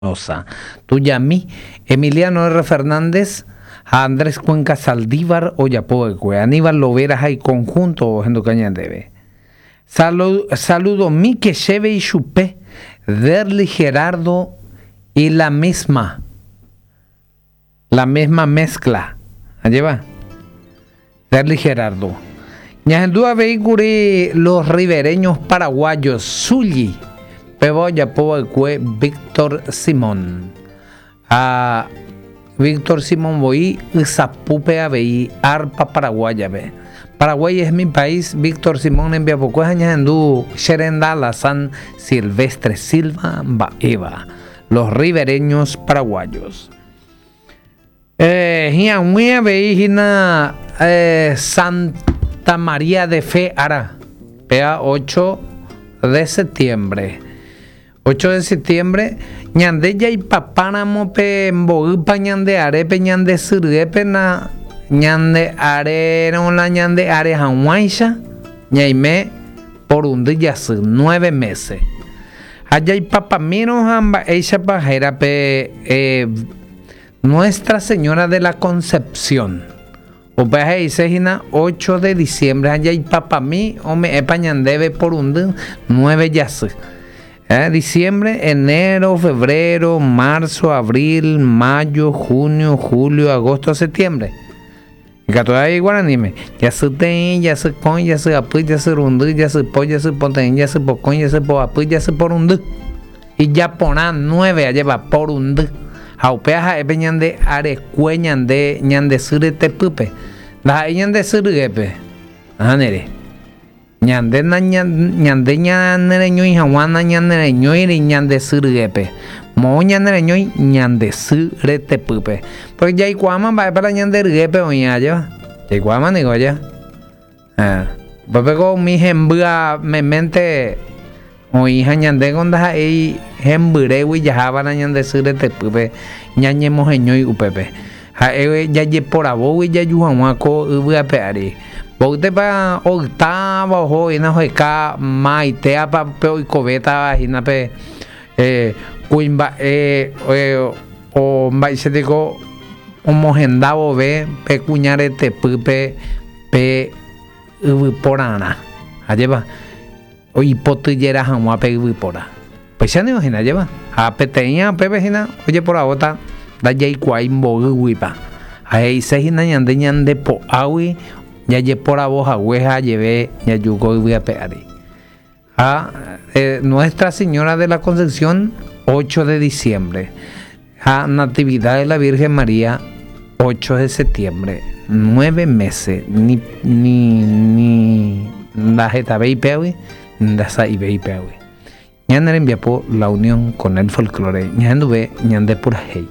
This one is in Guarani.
Espinoza, Tuyami, Emiliano R. Fernández ha Andrés Cuenca Saldívar ojapova'ekue, Aníbal Lovera ha iconjunto ohenduka ñandéve. Saludomíke chéve ichupe, Derly Gerardo y la misma, la misma mezcla. Ajépa? Derly Gerardo. Ñahendu avei kuri Los Ribereños Paraguayos, Zulli, péva ojapo va'ekue Víctor Simón. Ha Víctor Simón voi ysapúpe avei arpa paraguáyape. Paraguay es mi país, Víctor Simón rembiapokue ha ñahendu che renda Alazán Silvestre Silva mba'éva. Los Ribereños Paraguayos. Hi'ag̃ui avei hína Santa María de Fe ára, péva 8 de septiembre. 8 de septiembre, ñande jaipapáramo pe mboýpa ñande arépe ñande sy ryépe na ñande arérõ la ñande are hag̃uáicha ñaime porundy jasy, nueve meses. Ha jaipapamírõ ha mba'éichapa héra pe Nuestra Señora de la Concepción. Upéva he'ise hína 8 de diciembre ha jaipapami ome'ẽpa ñandéve porundy nueve jasy. Eh, diciembre, enero, febrero, marzo, abril, mayo, junio, julio, agosto, septiembre. Ikatu avei guaraníme, jasy teĩ, jasy kõi, jasy apy, jasy rundy, jasy po, jasy poteĩ, jasy pokõi, jasy poapy, jasy porundy. Ijaporã nueve ajépa porundy. Ha upéva ha'e pe ñande arekue ñande ñande sy retepýpe. Ndaha'éi ñande sy ryépe. Ahániri. Ñande ñande ñanereñói hag̃ua nañanereñóiri ñande sy ryépe. Moõ ñanereñói ñande sy retepýpe. Pórke jaikuaáma mba'épa la ñande ryépe oĩ ajéva. Jaikuaáma niko aja. Héẽ. Upépeko umi hembýa meménte oĩ ha ñandéko ndaha'éi hembyrégui jaháva la ñande sy retepýpe ñañemoheñói upépe. Ha'e jajeporavógui jaju hag̃ua ko yvy ape ári. Mboýtepa oytáva oho hína oheka maitéapa pe oikovétava hína pe kuimba'e mba'éicha omohenda vove pe kuña retepýpe pe yvyporarã. Ajépa oipotyjera hag̃ua pe yvypóra. Upéicha ningo hína ajépa. Ha peteĩva upépe hína ojeporavóta ndajaikuaái mboýguipa. Ha he'ise hína ñande ñande po'águi jajeporavo hague ha ajeve jaju ko yvy ape ári. Ha Nuestra Señora de la Concepción 8 de diciembre ha Natividad de la Virgen María 8 de septiembre. Nueve meses ni ni ni ndahetavéi péagui ndasa'ivéi péagui. Ñane rembiapo la unión con el folklore ñahenduve ñande purahéi.